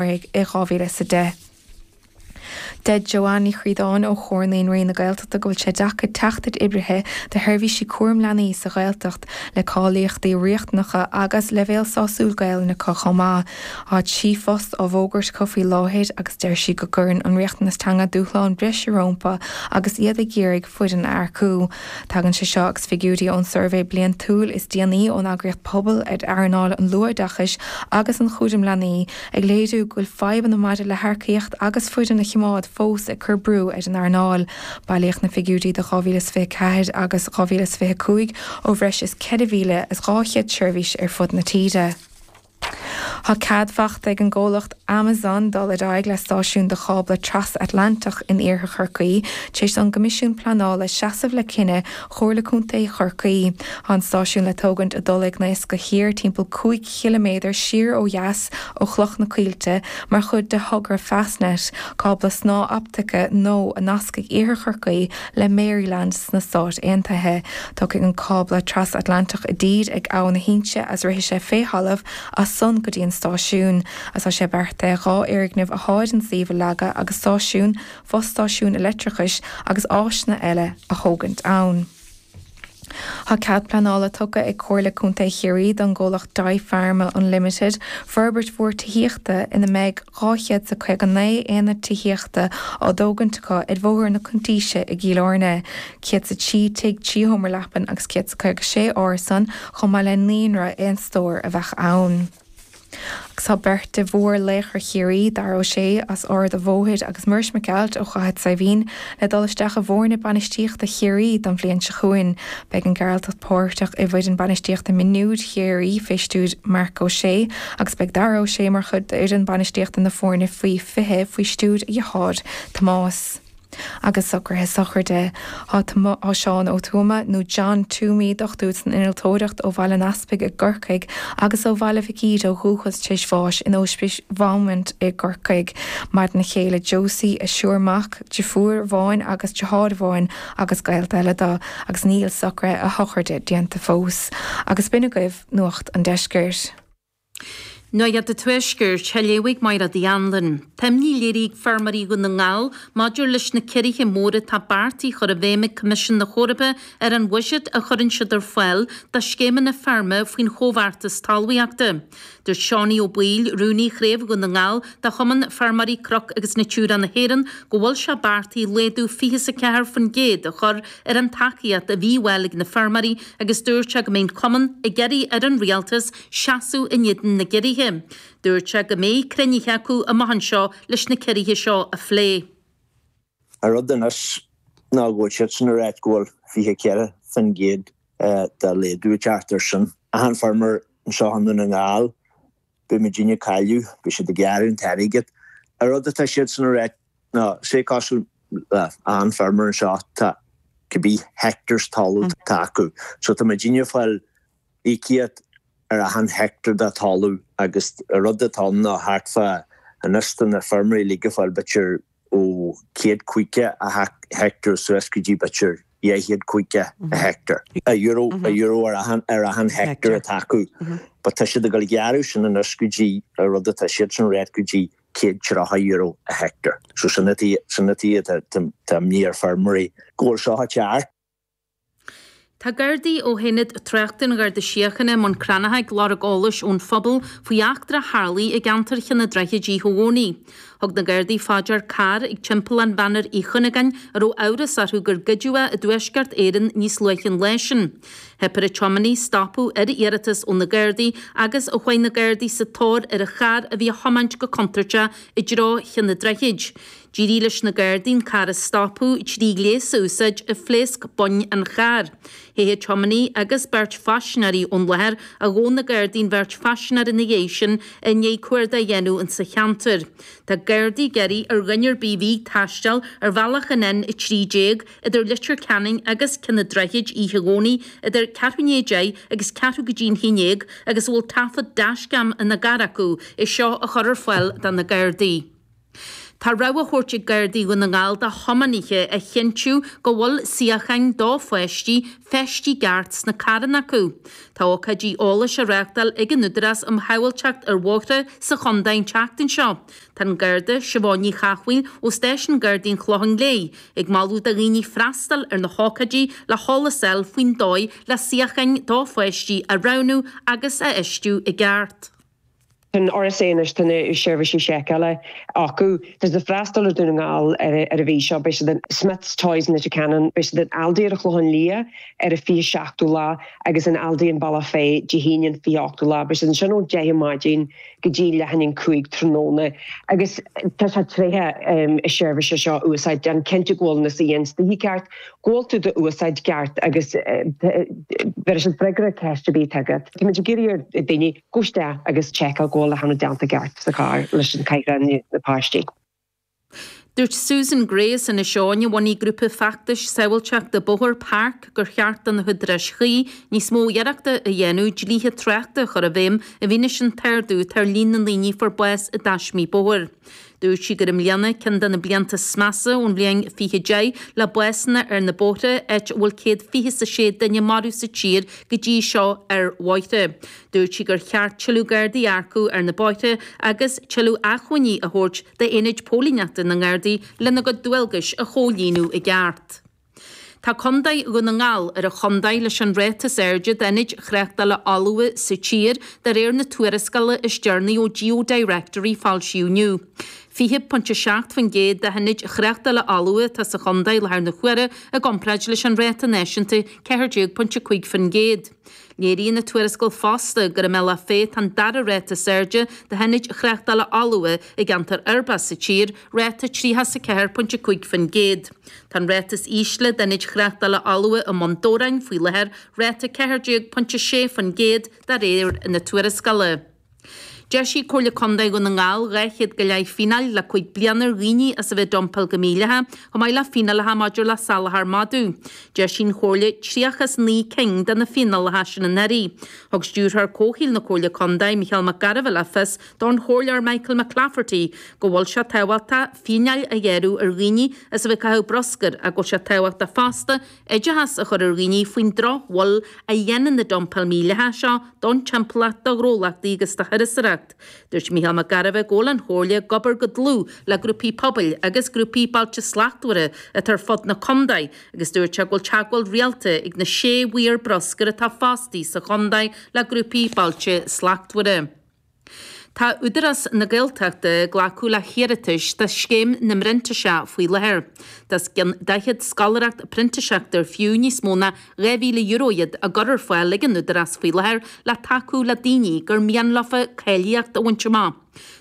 I 2010. Deir Joanne Ní Chríodáin ó Chomhar Naíonraí na Gaeltachta go bhfuil sé deacair teacht ar oibrithe do sheirbhísí cúram leanaí sa Ghaeltacht le cáilíochtaí riachtanacha agus leibhéal sásúil Gaelainne acu chomh maith. Tá 3 phost á bhfógairt acu faoi láthair agus deir sí go gcuireann an riachtanas teanga dúshlán breise rompu agus iad ag iarraidh foireann a earcú. Tagann sé seo agus figiúirí ón suirbhé bliantúil is déanaí ón eagraíocht Pobal ar earnáil an luathoideachais agus an chúraim leanaí ag léiriú go bhfuil fadhbanna maidir le hearcaíocht agus foireann a choimeád fós ag cur brú ar an earnáil. Bailíodh na figiúirí do 2024 agus 2025 ó bhreis is 4,200 seirbhís ar fud na tíre. Tá cead faighte ag an gcomhlacht Amazon dul ar aghaidh le stáisiún do chábla tras-Atlantach in iarthar Chorcaí tar éis don gCoimisiún Pleanála seasamh le cinneadh Chomhairle Contae Chorcaí. Tá an stáisiún le tógaint i dTulaigh Naoscach Thiar timpeall 5 chiliméadar siar ó dheas ó Chloch na Coillte mar chuid de thogra Fastnet, cábla snáth optaice nua a nascfaidh iarthar Chorcaí le Maryland sna Stáit Aontaithe. Tiocfaidh an cábla tras-Atlantach i dtír ag Abha na hInse agus rithfidh sé fé thalamh as san go dtí an stáisiún. Agus tá sé beartaithe 2 fhoirgneamh athá ar an suíomh a leagadh agus stáisiún, fostáisiún leictreachais agus áiseanna eile a thógaint ann. Tá cead pleanála tugtha ag Comhairle Contae Chiarraí don gcomhlacht Dye Pharma Unlimited forbairt mhór tithíochta ina mbeidh 259 aonad tithíochta á dtógaint acu ar Bhóthar na Cuntaoise i gCill Airne, 103 tigh 3 sheomra leapan agus 156 árasán chomh maith le naíonra aon stór a bheadh ann. Agus tá beirt de mhórlaochra Chiarraí, Dara Ó Sé as Ard a' Bhóthair agus Muiris Mac Gearailt ó Chathair Saidhbhín, le dul isteach i bhfoirne bainistíochta Chiarraí don bhliain seo chugainn. Beidh an Gearaltach páirteach i bhfoireann bainistíochta mionúir Chiarraí fé stiúir Marc Ó Sé agus beidh Dara Ó Sé mar chuid d'fhoireann bainistíochta na foirne faoi 20 faoi stiúir a dhearthár Tomás. Agus socruithe sochraide. Tá Seán Ó Tuama, nó John Toomey, dochtúir san innealtóireacht ó Bhaile an Easpaig i gCorcaigh agus ó Bhaile Mhic Íde ó dhúchas tar éis bháis in Ospís Bheaumont i gCorcaigh. Maireann a chéile Josie, a thriúr mac, deirfiúr amháin agus deartháir amháin agus gaolta eile dó agus níl socruithe a shochraide déanta fós. Agus b'in agaibh Nuacht an Deiscirt. Nuacht an Tuaiscirt, á léamh ag Máire Uí Anluain. Tá imní léirithe ag feirmeoirí Dhún na nGall maidir leis na ciorruithe móra atá beartaithe a chur i bhfeidhm ag Coimisiún na hEorpa ar an bhuiséad a chuireann siad ar fáil do scéimeanna feirme faoin Chomhbheartas Talmhaíochta. Dúirt Seánie Ó Baoill, Rúnaí Chraobh Dhún na nGall de Chumann Feirmeoirí Cnoc agus Natura na hÉireann, go bhfuil sé beartaithe laghdú 24% a chur ar an tacaíocht a bhí á fháil ag na feirmeoirí agus dúirt sé go mbeidh an Cumann ag iarraidh ar an Rialtas seasamh in éadan na gciorruithe. Dúirt sé go mbeidh cruinnithe acu amach anseo leis na ciorruithe seo a phlé. An rud anois ná go bhfuil siadsan ag ráit go bhfuil 24% de laghdú ag teacht air sin. Achan feirmeoir anseo i nDún na nGall, beidh muidinne ag cailleadh, beidh siad ag gearradh an t-airgead. An rud atá siadsan ag ráit ná, sé cosúil le achan feirmeoir anseo, tá cibé hectares talamh atá acu. So tá muidinne ag fáil íocaíocht ar achan heicteár de talamh agus an rud atá ann ná thart fá anois tá na feirmeoirí uilig ag fáil b'fhéidir ó 150 heicteár suas go dtí b'fhéidir 250 heicteár. Euro, euro ar achan, ar achan heicteár atá acu. But tá siad ag dul a ghearradh sin anois go dtí an rud atá siadsan ag ráit go dtí €130 a heicteár. So sin an tuige, sin an tuige tá, tá imní ar feirmeoirí go bhfuil seo ag teacht. Tá Gardaí ó Aonad Tráchta an Gharda Síochána i mBun Cranncha ag lorg eolais ón phobal faoi eachtra a tharlaigh i gceantar Chionn an Droichid oíche Dhomhnaigh. Thug na Gardaí fá dear carr ag Timpeallán Mhanar Uí Chuinneagáin a raibh amhras orthu gur goideadh é i dTuaisceart Éireann níos luaithe an lá sin. Theip ar an tiománaí stopadh ar iarratas ó na Gardaí agus chuaigh na Gardaí sa tóir ar an charr a bhí á thiomáint go contúirteach i dtreo Chionn an Droichid. D'éirigh leis na Gardaí an carr a stopadh trí ghléas a úsáid a phléasc boinn an chairr. Theith an tiománaí agus beirt phaisinéirí ón láthair ach ghabh na Gardaí an bheirt phaisinéir ina dhiaidh sin i ndiaidh cuardach a dhéanamh insa cheantar. Tá Gardaí ag iarraidh ar dhuine ar bith a bhí ag taisteal ar bhealach an N13 idir Leitir Ceanainn agus Cionn an Droichid oíche Dhomhnaigh idir ceathrú i ndiaidh a 10 agus ceathrú go dtí an 11 agus a bhfuil taifead dashcam ina gcarr acu é seo a chur ar fáil do na Gardaí. Tá rabhadh á thabhairt ag Gardaí Dhún na nGall do thiománaithe a chinntiú go bhfuil suíocháin do pháistí feistithe i gceart sna carranna acu. Tá ócáidí eolais á reáchtáil ag an Údarás um Shábháilteacht ar Bhóithre sa chontae an tseachtain seo. Tá an Garda Siobhán Ní Chathmhaoil ó Stáisiún Gardaí an Chlocháin Léith ag moladh do dhaoine freastal ar na hócáidí le heolas a fháil faoin dóigh le suíocháin do pháistí a roghnú agus a fheistiú i gceart. Tá an RSA anois, tá na seirbhísí seiceála acu. Tá siad ag freastal ar Dhún na nGall ar an mhí seo. Beidh siad in Smyths Toys in Leitir Ceanainn, beidh siad in Aldi ar an Chlochán Liath ar an 27ú lá agus in Aldi in Bealach Féich Dé hAoine an 28ú lá. Beidh siad ansin ón 10 maidin go dtí leath i ndiaidh 5 tráthnóna agus tá sé tréithe na seirbhíse seo a úsáid. Déan cinnte go bhfuil na suíocháin istigh i gceart, go bhfuil tú d'úsáid i gceart agus bhéarfaidh siad freagra ar ceist ar bith atá agat. Táimid ag iarraidh ar daoine Gabh isteach agus seiceáil go bhfuil achan rud déanta i gceart sa charr leis an cathaoir na páistí. Dúirt Susan Gray as Inis Eoghain, a bhunaigh grúpa feachtais sábháilteachta bóthair, Park, gur cheart do na húdaráis chuí níos mó iarrachta a dhéanamh dlíthe tráchta a chur i bhfeidhm i bhfianaise an t-ardú atá ar líon na ndaoine a fuair bás i dtaismí bóthair. Dúirt sí gur i mbliana ceann de na blianta is measa ón bhliain 2010 le básanna ar na bóithre, áit a bhfuil 126 duine marbh sa tír go dtí seo ar bhóithre. Dúirt sí gur cheart tuilleadh Gardaí a earcú ar na bóithre agus tuilleadh acmhainní a thabhairt d'aonaid póilíneachta na nGardaí lena gcuid dualgais a chomhlíonadh i gceart. Tá Contae Dhún na nGall ar an chontae leis an ráta is airde d'ionaid thráchtála fholmha sa tír, de réir na tuarascála is deireanaí ó GeoDirectory foilsíodh inniu. 20.7% d'ionaid thráchtála fholmha atá sa chontae i láthair na huaire i gcomparáid leis an ráta náisiúnta 14.5%. Léiríonn an tuarascáil fosta gur i mBealach Féich atá an dara ráta is airde d'ionaid thráchtála fholmha i gceantar uirbeach sa tír, ráta 34.5%. Tá an ráta is ísle d'ionaid thráchtála fholmha i mBun Dobhráin faoi láthair, ráta 14.6% de réir na tuarascála. D'eisigh Comhairle Contae Dhún na nGall 200 go leith fíneáil le 5 bliana ar dhaoine as a bheith ag dumpáil go mídhleathach, chomh maith le fíneálacha maidir le salachar madadh. D'eisigh an Chomhairle 39 cinn de na fíneálacha sin anuraidh. Thug Stiúrthóir Comhshaoil na Comhairle Contae, Micheál Mac Gairbheith le fios don Chomhairleoir Michael McClafferty go bhfuil sé tábhachtach fíneáil a ghearradh ar dhaoine as a bheith ag caitheamh bruscair ach go bhfuil sé tábhachtach fosta oideachas a chur ar dhaoine faoin drochbhail a dhéanann na dumpáil mhídhleathach seo don timpeallacht, do ghnólachtaí agus do thurasóireacht. Dúirt Mícheál Mac Gairbheith go bhfuil an Chomhairle ag obair go dlúth le grúpaí pobail agus grúpaí Bailte Slachtmhara atá ar fud na contae agus dúirt sé go bhfuil teagmháil rialta ag na sé mhaor bruscair atá fostaithe sa chontae le grúpaí Bailte Slachtmhara. Tá Údarás na Gaeltachta ag glacadh le hiarratais do Scéim na bPrintíseach faoi láthair. Tá os cionn 40 scoláireacht printíseachta ar fiú níos mó ná €2,000 iad á gcur ar fáil ag an Údarás faoi láthair le tacú le daoine gur mian leofa cáilíocht a bhaint amach.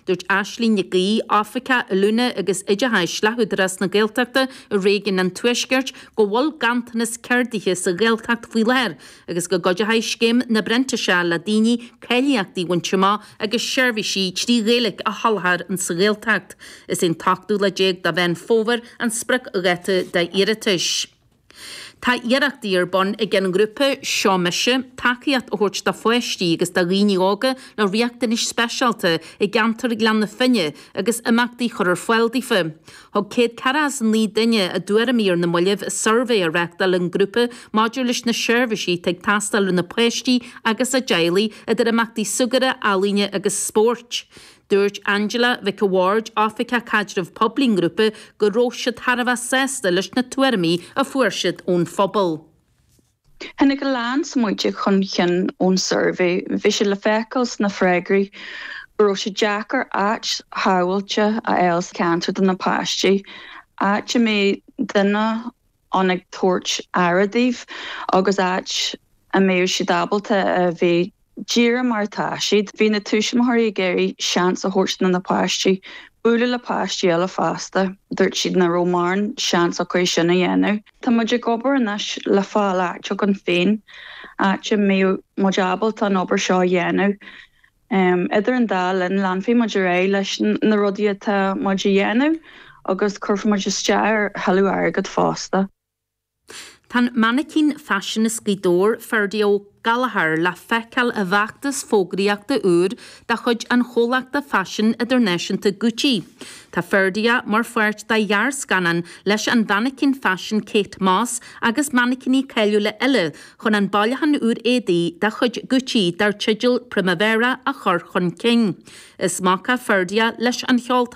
Dúirt Aisling Nic Aoidh, Oifigeach Oiliúna agus Oideachais le hÚdarás na Gaeltachta i réigiún an Tuaiscirt, go bhfuil ganntanas ceardaithe sa Ghaeltacht faoi láthair agus go gcuideoidh Scéim na bPrintíseach le daoine cáilíochtaí a bhaint amach agus seirbhísí trí Ghaeilge a sholáthar sa Ghaeltacht. Is é an t-ochtú lá déag de Mheán Fómhair an spriocdháta d'iarratais. Tá iarrachtaí ar bun ag an ngrúpa Seo Mise tacaíocht a thabhairt do pháistí agus do dhaoine óga le riachtanais speisialta i gceantar Ghleann na Finne agus imeachtaí a chur ar fáil daofa. Thug 149 duine a dtuairimí ar na mallaibh i suirbhé a reáchtáil an grúpa maidir leis na seirbhísí atá ag teastáil ó na páistí agus a dteaghlaigh, idir imeachtaí súgartha, ealaíne agus spóirt. Dúirt Angela Mhic a' Bhaird, Oifigeach Caidreamh Poiblí an ghrúpa, go raibh siad thar a bheith sásta leis na tuairimí a fuair siad ón phobal. Tháinig a lán smaointe chun cinn ón suirbhé. Bhí sé le feiceáil sna freagraí go raibh sé deacair áit shábháilte a fháil sa cheantar do na páistí, áit a mbeadh duine ann ag tabhairt aire daoibh agus áit a mbeadh siad ábalta a bheith díreach mar atá siad. Bhí na tuismitheoirí ag iarraidh seans a thabhairt do na páistí bualadh le páistí eile fosta. Dúirt siad nach raibh mórán seans acu é sin a dhéanamh. Tá muid ag obair anois le fáil áit againn féin, áit a mbeadh muid ábalta an obair seo a dhéanamh. Idir an dá linn, leanfaidh muid ar aghaidh leis na rudaí atá muid a dhéanamh agus cuirfidh muid isteach ar thuilleadh airgid fosta. Tá an mainicín faisin as Gaoth Dobhair, Ferdia O'Gallchóir, le feiceáil i bhfeachtas fógraíochta úr de chuid an chomhlachta faisin idirnáisiúnta Gucci. Tá Ferdia mar pháirt de ghearrscannán leis an mhainicín faisin Kate Moss agus mainicíní cáiliúla eile chun an bailiúchán úr éadaí de chuid Gucci dar teideal Primavera a chur chun cinn. Is mac é Ferdia leis an cheoltóir.